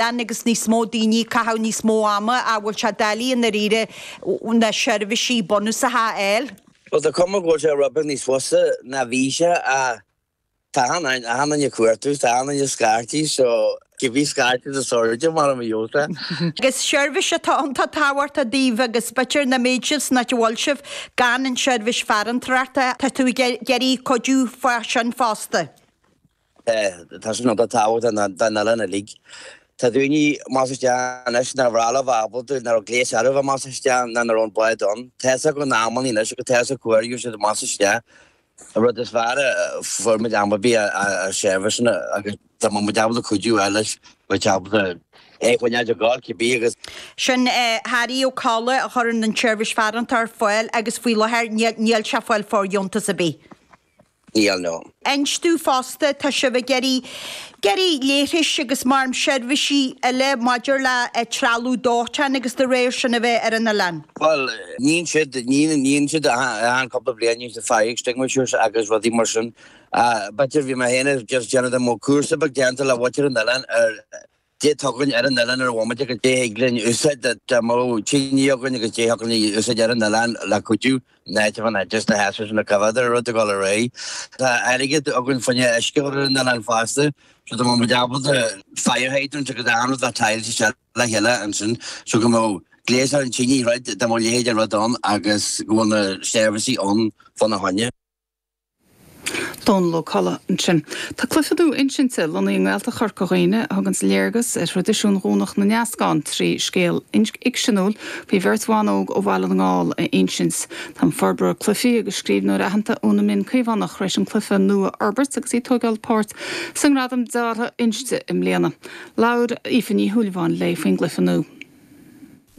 Oileán agus níos mó daoine ag caitheamh níos mó ama ach bhfuil sé doiligh i ndáiríre na seirbhísí bunúsacha a fháil. Bhuel tá cuma go bhfuil sé rud beag níos fusa ná bhí sé ach tá achan duine ag cuartú, tá achan duine ag scairtigh so cibé scairtigh is airde mar a bheadh sé. Agus seirbhís atá iontach tábhachtach daoibh agus b'fhéidir nach mbeadh sibh san áit a bhfuil sibh gan an tseirbhís farantóireachta. Tá tú ag iarraidh cuidiú fá sin fosta. Tá sin iontach tábhachtach don oileán uilig. Tá daoine amach isteach anois nár mhaith leo bheith ábalta, nach raibh gléas ar bith amach isteach ná nach raibh an bád ann. Tá fhios acu na amannaí anois agus tá fhios acu cá huair a gheobhaidh siad amach isteach. An rud is fearr a fuair muid am ar bith a seirbhíseanna agus dá mbeadh muid ábalta cuidiú a fháil leis, bheadh ábalta é a choinneáil ag gabháil cibé agus. Sin Harry Ó Colla a chuireann an tseirbhís farantóir ar fáil agus faoi láthair níl sé ag fáil fóirdheontas ar bith. Níl, no. Inis domh fosta, tá sibh ag iarraidh, iarraidh leithris agus mar seirbhísí eile maidir le trealamh dóiteáin agus dá réir sin a bheith ar an oileán. Bhuel, níonn siad, níonn siad achan cúpla bliain, níonn siad fire extinguishers agus rudaí mar sin. B'fhéidir, bhí mé féin just déanamh de mo cúrsa beag déanta le mhuintir an oileáin ar Dé atá againn ar an oileán ar an bhomaite agus dé thig linn úsáid dá mbeadh tine againn agus dé thiocfadh linn úsáid ar an oileán le cuidiú in áit a bheith just na heasraí sin a coimhéad ar an rud ag dul ar aghaidh. Tá airgead againn fá choinne uisce a chur ar an oileán fosta so dá mbeadh muid ábalta fire hydrants agus achan rud a tiles isteach le chéile ansin so go mbeadh gléas ar an tine throid dá mbeadh leithéid de rud ann agus go bhfuil na seirbhísí ann fána choinne. Dónal Ó Colla ansin. Tá cluiche nua insinte lonnaithe i nGaeltacht Chorca Dhuibhne a thuganns léargas ar thraidisiún Dhomhnach na nEascán trí scéal fhicseanúil faoi bheirt bhan óg ó Bhaile na nGall a insint. Tá an forbróir cluichí agus scríbhneoir aitheanta Úna Minh Caomhánach tar éis an cluiche nua a fhorbairt agus í ag tógáil páirt sa nGradam Deartha Inste i mbliana. Labhair Aoife Ní Shúilleabháin léi faoin gcluiche nua.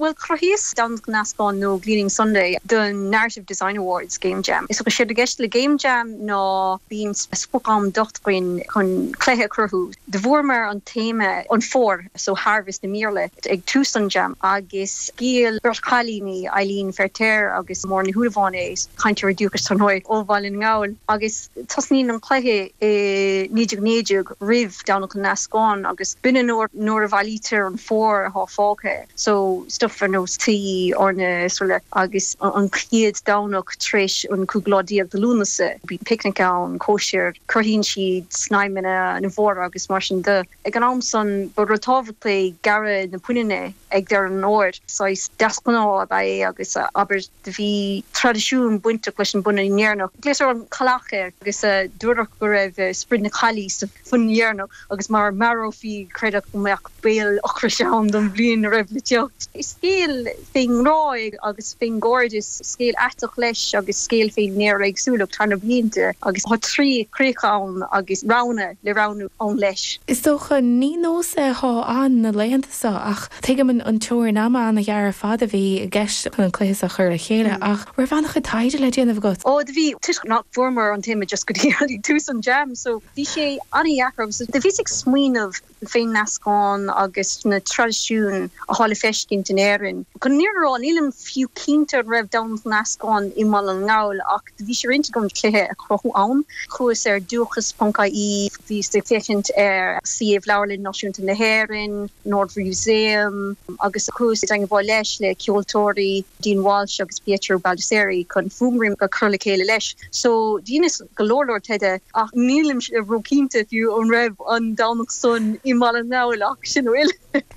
Bhuel, chruthaíos Domhnach na nEascán nó Gleaning Sunday don Narrative Design Awards Game Jam. Is séard i gceist le Game Jam ná bíonn sprioc-am docht againn chun cluiche a chruthú. Do bhfuaireamar an téama an fómhar, so harvest i mBéarla, ag tús an jam agus dhíol beirt chailíní, Eileen Feirtéar agus Máire Ní Shúilleabháin é, cainteoirí dúchais dar ndóigh, ó Bhaile na nGall. Agus tosnaíonn an cluiche i 1919 roimh Domhnach na nEascán agus b'in an uair nuair a bhailítear an fómhar atá fágtha. So stuff ar nós tuí, eorna is araile agus an chéad Domhnach tar éis an cúigiú lá déag de Lúnasa bíonn picnic ann, cóisir, cruthaíonn siad snaidhmeanna na bhfómhar agus mar sin de. Ag an am san ba rud tábhachtach é gearradh na puininne ag deireadh an fhómhair, saghas deasghnáth ab ea é agus abair do bhí traidisiún bainteach leis an bpunann dheireanach. Glaotar an cailleach air agus dúradh go raibh sprid na caillí sa phunann dheireanach agus mara marófaí creideadh go mbeadh baol ocrais ann don bhliain a raibh le teacht. Is scéal fén ngrá é agus fén gcairdeas, scéal aiteach leis agus scéal fén néaréagsúlacht thar na blianta agus tá trí chríocha ann agus roghanna le roghnú ann leis. Is dócha, ní nós é athá ann na laethanta seo ach tuigim an teorainn ama an-ghearr ar fad a bhí i gceist chun an cluiche seo a chur le chéile ach raibh an-chuid taighde le déanamh agat? Ó do bhí, toisc nach bhfuaireamar an téama just go dtí tús an jam so bhí sé an-dheacair agus do bhíos ag smaoineamh fén n-eascán agus na traidisiúin athá le feiscint in Éirinn. Chun an fhírinne a rá, nílim fiú cinnte an raibh Domhnach na nEascán i mBaile na nGall ach do bhí sé ar intinn agam cluiche a chruthú ann. Chuas ar dúchas.ie, bhíos ag féachaint ar suíomh Leabharlann Náisiúnta na hÉireann, an Ard-Mhúsaem agus chuas i dteangmháil leis le ceoltóirí Dean Walsh agus Pietro Baldisseri chun fuaimrian a chur le chéile leis. So dheineas go leor leor taighde ach nílim ró-chinnte fiú an raibh an Domhnach san i mBaile na nGall ach sin a bhfuil.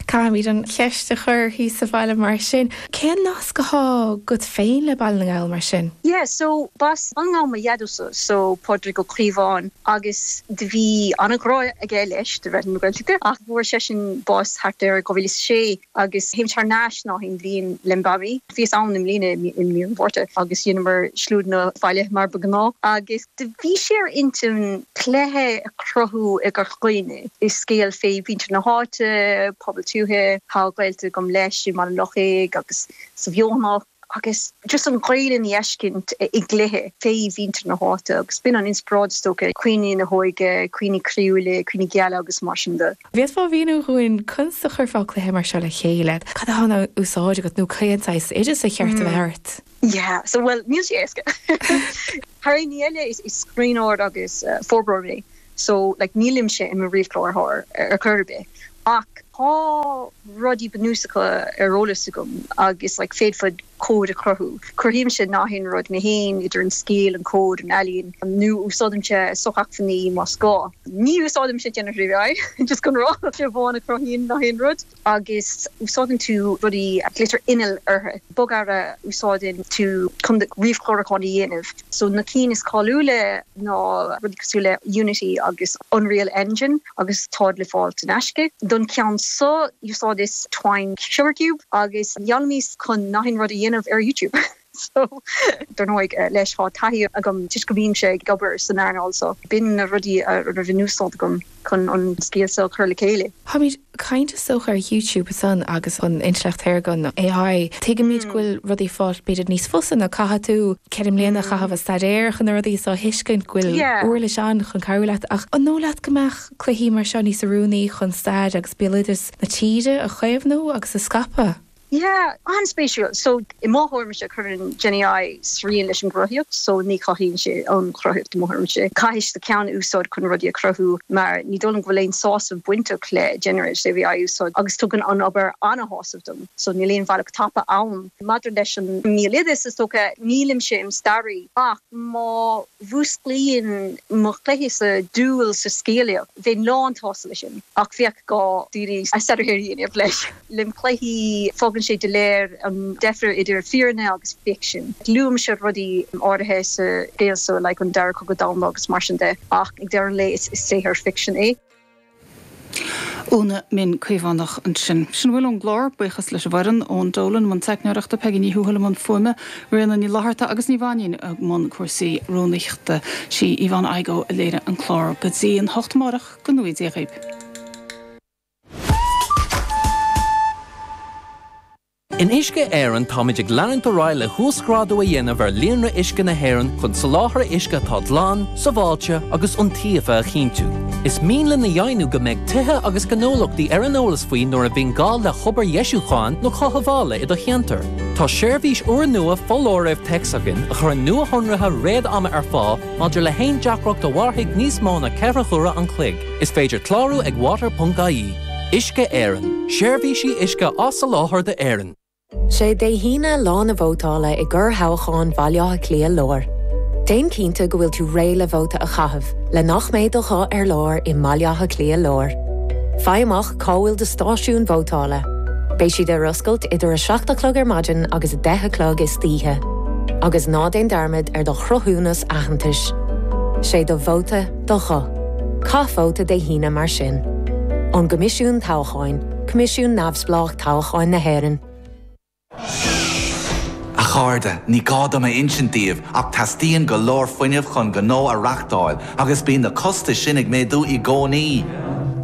Caithfimid an cheist a chur thíos sa bhaile mar sin. Cén nasc athá agat féin le Baile na nGall mar sin? Yeah so b'as Baile na nGall mo dhaideo-sa so Pádraig Ó Caomháin agus do bhí an-ghrá aige leis do Raidió na Gaeltachta ach fuair seisean bás thart ar 2006 agus théim thar n-ais gach aon bhliain lem mhamaí. Bhíos ann i mbliana i mí an Mhárta agus dheineamar slua na bhaile mar ba ghnáth agus do bhí sé ar intinn cluiche a chruthú i gCorca Dhuibhne. Is scéal fé mhuintir na háite, pobal tuaithe, tá gaolta agam leis i mBaile Lochaig agus sa Bheothanach. agus just an Ghaelainn a fheiscint i gcluiche fé mhuintir na háite agus b'in an inspioráid is dócha, cuimhní na hóige, cuimhní croíúla, cuimhní geala agus mar sin de. Bhféadfá a mhíniú dhúinn conas a chuirfeá cluiche mar seo le chéile? Cad atá in úsáid agat nó cén saghas oideas a cheart a bheith ort? Yeah, so bhuel níl sé éasca. Thar aon ní eile is scríbhneoir agus forbróir mé so like nílimse i mo ríomhchláraitheoir ar chor ar bith ach. Tá rudaí bunúsacha ar eolas agam agus like féadfad cód a chruthú. Cruthaímse nach aon rud mé féin, idir an scéal, an cód, an ealaín, nó úsáidimse sochacmhainní más gá. Ní úsáidimse generative AI, just chun rá, mise amháin a chruthaíonn nach aon rud. Agus úsáideann tú rudaí, glaoitear innill orthu, bogearra a úsáideann tú chun do ríomhchlárúchán a dhéanamh. So na cinn is cáiliúla ná rudaí cosúil le Unity agus Unreal Engine agus táid le fáil in aisce. Don cheann seo úsáideas Twine Sugarcube agus d'fhoghlaimíos chun nach aon rud a dhéanamh ar YouTube. So dar ndóigh leis tá taithí agam toisc go mbímse ag obair san earnáil so b'in na rudaí a raibh in úsáid agam chun an scéal seo a chur le chéile. Táimid ag caint is dócha ar YouTube ansan agus an intleacht shaorga, an AI. Tuigimid go bhfuil rudaí fáil b'fhéidir níos fusa ná caithfidh tú 4 mbliana a chaitheamh ag staidéar chun na rudaí so a thuiscint go bhfuil uirlis ann chun cabhrú leat. Ach an dóigh leat go mbeadh cluichí mar seo níos oiriúnaí chun stair agus béaloideas na tíre a chaomhnú agus a scaipeadh? Yeah, an-spéisiúil. So, i mo thuairimse, cuireann Gen AI srian leis an gcruthaíocht, so ní chothaíonn sé an chruthaíocht i mo thuairimse. Caithfidh do cheann a úsáid chun rudaí a chruthú mar ní dóigh liom go bhfuil aon sásamh bainteach le generative AI a úsáid agus tugann an obair an-shásamh dom, so níl aon bhealach tapa ann. Maidir leis an mbéaloideas, is dócha, nílimse im staraí ach má mhúsclaíonn mo chluichese dúil sa scéalaíocht, bheinn lán-tsásta leis sin ach bheadh gá daoine a staidéar a dhéanamh leis. Lem chluichí, fágann sé doiléir an deifir idir fírinne agus ficsean. Luaimse rudaí áirithe sa scéal so, like an Dara Cogadh Domhanda agus mar sin de, ach ag deireadh an lae is saothar ficsin é. Úna Min Caomhánach ansin. Sin a bhfuil ón gclár. Buíochas leis an bhfoireann, Eoin Dolan i mbun teicneoireachta, Peigí Ní Thuathail i mbun fuaime, Ríona Ní Fhlatharta agus Ní Mhainín i mbun cúrsaí rúnaíochta. Sí Yvonne Igoe a léirigh an clár. Go dtí an hocht amárach, go ngnóthaí Dia dhaoibh. In Uisce Éireann táimid ag leanúint ar aghaidh le huasghrádú a dhéanamh ar líonra uisce na hÉireann chun soláthar uisce atá glan, sábháilte agus iontaofa a chinntiú. Is mian linn a dheimhniú go mbeidh tithe agus gnólachtaí ar an eolas faoi nuair a bhíonn gá le hobair dheisiúcháin nó chothabhála i do cheantar. Tá seirbhís úrnua foláirimh téacs againn a chuireann nuashonruithe réad-ama ar fáil maidir le haon deacracht a mhairfidh níos mó ná 4 huaire an chloig. Is féidir clárú ag water.ie. Uisce Éireann, seirbhísí uisce á soláthar d'Éirinn. Sé Dé hAoine lá na vótála i gcorrthoghchán Bhaile Átha Cliath Láir. Déan cinnte go bhfuil tú réidh le vóta a chaitheamh le nach mbeidh do ghuth ar lár i mBaile Átha Cliath Láir. Faigh amach cá bhfuil do stáisiún vótála. Beidh siad ar oscailt idir 7 a chlog ar maidin agus 10 a chlog istoíche. Agus ná déan dearmad ar do chruthúnas aitheantais. Sé do vóta do ghuth. Caith vóta Dé hAoine mar sin. Ón gCoimisiún Toghcháin, Coimisiún Neamhspleách Toghcháin na hÉireann. A chairde, ní gá dom a insint daoibh ach teastaíonn go leor fuinnimh chun gnó a reachtáil agus bíonn na costais sin ag méadú i gcónaí.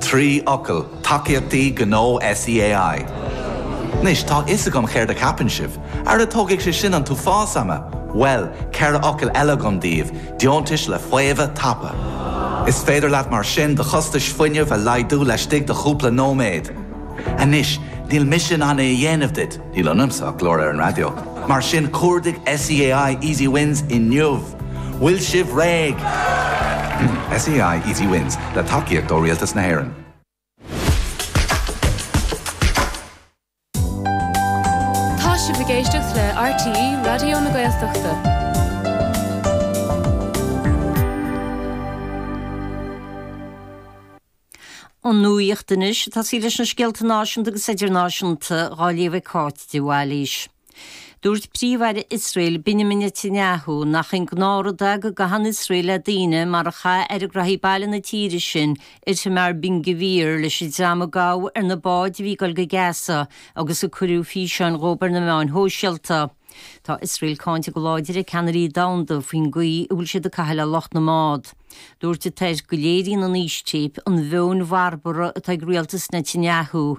3 fhocal, tacaíochtaí gnó SEAI. Anois, tá a fhios agam céard a cheapann sibh. Ara tógfaidh sé sin an t-uafás ama! Bhuel, 4 fhocal eile agam daoibh, Deontais le faomhadh tapa. Is féidir leat mar sin do chostais fuinnimh a laghdú laistigh de chúpla nóiméad. Anois, níl mise in ann é a dhéanamh duit, níl ionamsa ach glór ar an raidió, mar sin cuardaigh SEAI Easy Wins inniu! Bhfuil sibh réidh? SEAI Easy Wins, le tacaíocht ó Rialtas na hÉireann. Tá sibh ag éisteacht le RTÉ Raidió na Gaeltachta. An nuacht anois, ag tosaí leis na scéalta náisiúnta agus idirnáisiúnta dhá léamh ag Cáit de Bhailís. Dúirt Príomh-Aire Iosrael Benjamin Netanyahu nach aon ghnáthrud é go gcaitheann Iosrael le daoine mar a chaith Aire Gnóthaí Baile na tíre sin, Itamar Ben Gvir, leis an dream a gabhadh ar na báid a bhí ag dul go Gaza agus a cuireadh físeáin dhóibh ar na meáin shóisialta. Tá Iosrael cáinte go láidir ag ceannairí domhanda faoin gcaoi a bhfuil siad ag caitheamh le lucht na mbád. Dúirt an tAire go léiríonn an fhístéip an mheon bharbarach atá ag rialtas Netanyahu.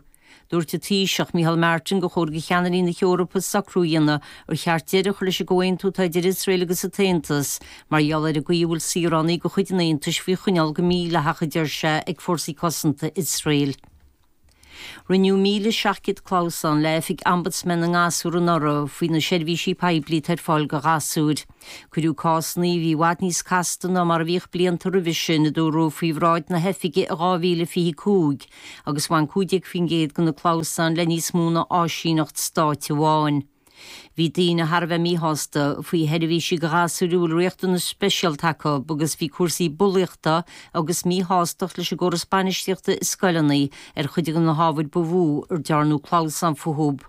Dúirt an Taoiseach, Micheál Martin, gur chóir do cheannairí na hEorpa socrú a dhéanamh ar cheart deireadh a chur leis an gcomhaontú atá idir Iosrael agus an tAontas mar gheall ar an gcaoi a bhfuil saoránaigh de chuid an Aontais faoi choinneáil go mídhleathach, a deir sé, ag fórsaí cosanta Iosrael. Rinneadh 1,700 clamhsán le Oifig Ombudsman na nGasúr anuraidh faoi na seirbhísí poiblí atá ar fáil do ghasúir. Cuireadh cásanna a bhí i bhfad níos casta ná mar a bhíodh blianta roimhe sin, a dúradh, faoi bhráid na hoifige i 2025 agus bhain 15% de na clamhsáin le níos mó ná áisíneacht stáit amháin. Bhí daoine thar a bheith míshásta faoi sheirbhísí do ghasúir a bhfuil riachtanais speisialta acu agus bhí cúrsaí bulaíochta agus míshástacht leis an gcóras bainistíochta i scoileanna ar chuid de na hábhair ba mhó ar dearnadh clamhsán fúthu.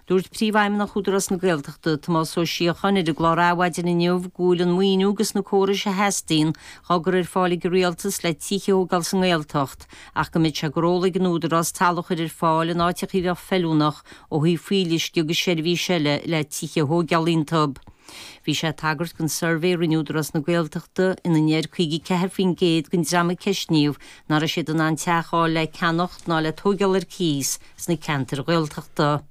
Dúirt Príomhfheidhmeannach Údarás na Gaeltachta, Tomás Ó Síocháin, ar an gclár Adhmhaidin inniu go bhfuil an maoiniú agus na córais a theastaíonn dhá gcur ar fáil ag an Rialtas le tithe a thógáil sa nGaeltacht ach go mbeidh sé go rómhall ag an Údarás talamh a chur ar fáil in áiteacha a bheadh feiliúnach ó thaobh fuíolluisce agus seirbhís eile le tithe a thóigeáil iontub. Bhí sé ag tagairt don suirbhé a rinne Údarás na Gaeltachta ina ndeir 54% den dream a ceistníodh nach raibh siad in ann teach a fháil le ceannacht ná le tóigeáil ar cíos sna ceantair Ghaeltachta.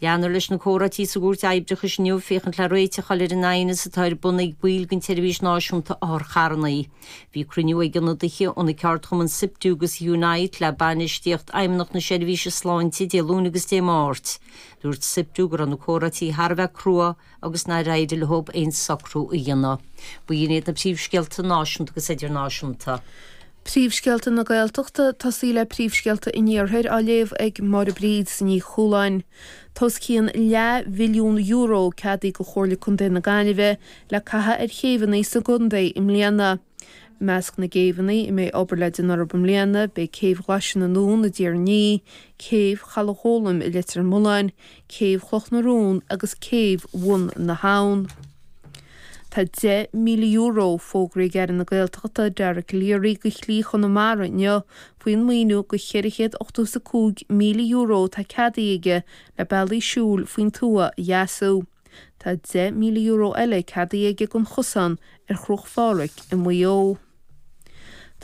Leanfar leis na comhráití sa gCúirt Oibreachais inniu féachaint le réiteach a fháil ar an aighneas atá ar bun ag baill den tSeirbhís Náisiúnta Otharcharranna. Bhí cruinniú ag ionadaithe ó na ceardchumainn Siptu agus Unite le bainistíocht Fheidhmeannacht na Seirbhíse Sláinte Dé Luain agus Dé Máirt. Dúirt Siptu go raibh na comhráití thar a bheith crua agus nár éirigh leo aon socrú a dhéanamh. B'in iad na príomhscéalta náisiúnta agus idirnáisiúnta. Príomhscéalta na Gaeltachta, tosaí le príomhscéalta an Iarthair á léamh ag Máire Bríd Ní Chualáin. Tá os cionn leathbhilliún euro ceadaithe do Chomhairle Contae na Gaillimhe le caitheamh ar chéibheanna sa gcontae i mbliana. I measc na gcéibheanna a mbeidh obair le déanamh orthu i mbliana beidh Céibh Ghlaise na nDún i dTír an Fhia, Céibh Chaladh Ghólaim i Leitir Mealláin, Céibh Chloch na Rón agus Céibh Bhun na hAbhann. Tá €10,000 fógraithe ag Aire na Gaeltachta Dara Calleary do Shlí Chonamara inniu faoin maoiniú de €485,000 atá ceadaithe aige le bealaí siúil faoin tuath a dheasú. Tá €10,000 eile ceadaithe aige don chosán ar Chruach Phádraig i Maigh Eo.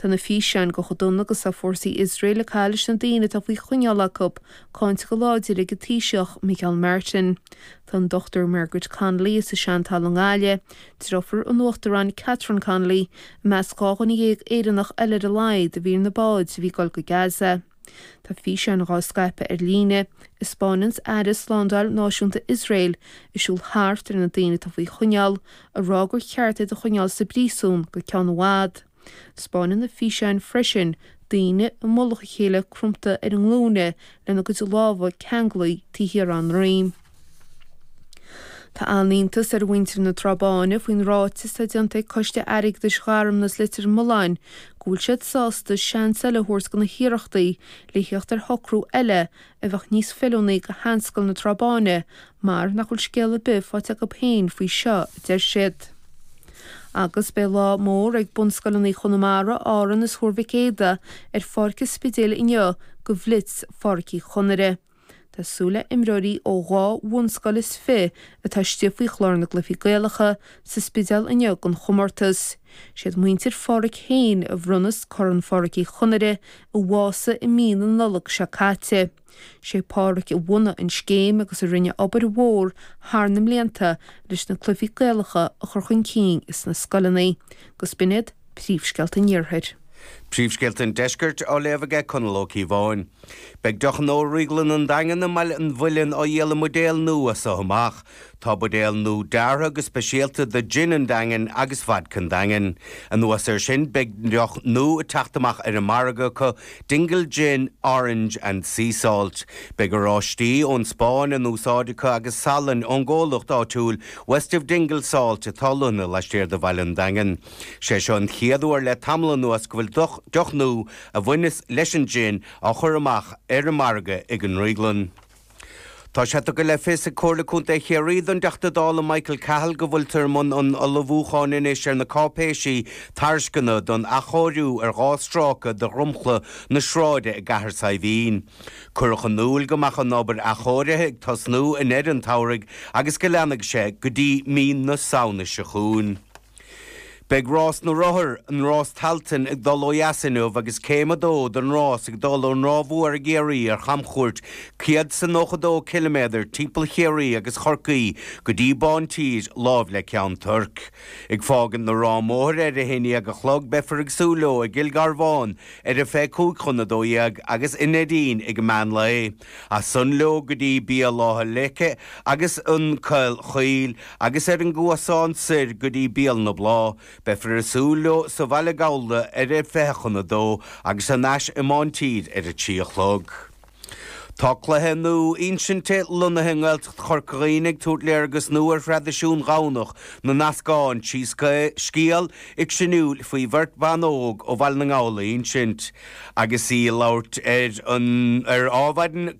Tá na físeáin de chomh dona agus atá fórsaí Iosrael ag caitheamh leis na daoine atá faoi choinneáil acu cáinte go láidir ag an Taoiseach Micheál Martin. Tá an Dr Margaret Connolly as an Seantalamh i nGaillimh, deirfiúr an Uachtaráin Catherine Connolly, i measc 12 dhuine Éireannach eile ar a laghad a bhí ar na báid a bhí ag dul go Gaza. Tá físeáin dhá scaipeadh ar líne, a 'spáineanns Aire Slándáil Náisiúnta Iosrael ag siúl thart ar na daoine atá faoi choinneáil, ag rá gur cheart iad a choinneáil sa bpríosún go ceann i bhfad. 'Spáineann na físeáin freisin daoine i mullach a chéile cromta ar a nglúine lena gcuid lámha ceanglaithe taobh thiar dá ndroim. Tá an-iontas ar mhuintir na Trá Báine faoin ráiteas atá déanta ag Coiste Airgeadais Gharmna is Leitir Mealláin go bhfuil siad sásta seans eile a thabhairt do na hiarrachtaí le theacht ar shocrú eile a bheadh níos feiliúnaí do sheanscoil na Trá Báine mar nach bhfuil scéal ar bith faighte acu féin faoi seo, a deir siad. Agus beidh lá mór ag bunscoileanna Chonamara, Árann is Thuar Mhic Éadaigh ar Pháirc an Spidéil inniu do Bhlitz Pháirc Uí Chonaire. Tá súil le imreoirí ó dhá bhunscoil is fi atá istigh faoi chlár na gCluichí Gaelacha sa Spidéal inniu don chomórtas. Siad muintir Pháraic féin a bhronnas Corn Pháirc Uí Chonaire i Mhása i mí na Nollag seo caite. Sé Páraic a bhunaigh an scéim agus a rinne obair mhór thar na mblianta leis na Cluichí Gaelacha a chur chun cinn sna scoileanna. Agus b'in iad príomhscéalta an Iarthair. Príomhscéalta an Deiscirt á léamh aige Conall Ó Cíobháin. Beidh deoch nua Dhrioglann an Daingin i mBaile an Mhuilinn á dhíol i mbuidéal nua as so amach. Tá buidéal nua deartha go speisialta do Gin an Daingin agus Vodka an Daingin. Anuas air sin beidh deoch nua ag teacht amach ar an margadh acu, Dingle Gin Orange and Sea Salt. Beidh oráistí ón Spáinn in úsáid acu agus salainn ón gcomhlacht áitiúil West of Dingle Salt atá lonnaithe laistiar de Bhaile an Daingin. Sé seo an chéad uair le tamall anuas go bhfuil deoch nua a bhaineas leis an gin á chur amach ar an margadh ag an ndrioglann. Tá sé tugtha le fios ag Comhairle Contae Chiarraí don dTeachta Dála Michael Cahill go bhfuiltear i mbun an ullmhúcháin anois ar na cáipéisí tairisceana don athchóiriú ar dha stráice de dhromchla na sráide i gCathair Saidhbhín. Cuireadh in iúl go mbeadh an obair athchóirithe ag tosnú i ndeireadh an tsamhraidh agus go leanfaidh sé go dtí mí na Samhna seo chugainn. Beidh Rás na Rothar, an Rás Tailteann, ag dul ó dheas inniu agus céim a dó den rás ag dul ón Ráth Mhór i gCiarraí ar chamchuairt 192 ciliméadar timpeall Chiarraí agus Chorcaí go dtí Bántír, láimh le Ceann Toirc. Ag fágaint na Ráth Móthair ar a haon dhéag a chlog beifear ag súil leo i gCill Garbháin ar a 11:35 agus i Neidín ag meán lae. As san leo go dtí Béal Átha Leice agus an Coill Chaoil agus ar an gCuasán soir go dtí Béal na Bláth. Beifear ag súil leo sa Bhaile Gabhla ar a 1:40 agus thar n-ais i mBántír ar a 3 a chlog. Tá cluiche nua insinte lonnaithe i nGaeltacht Chorca Dhuibhne ag tabhairt léargas nua ar thraidisiún Dhomhnach na nEascán trí scéal fhicseanúil faoi bheirt bhan óg ó Bhaile na nGall a insint. Agus í ag labhairt ar an ar Adhmhaidin.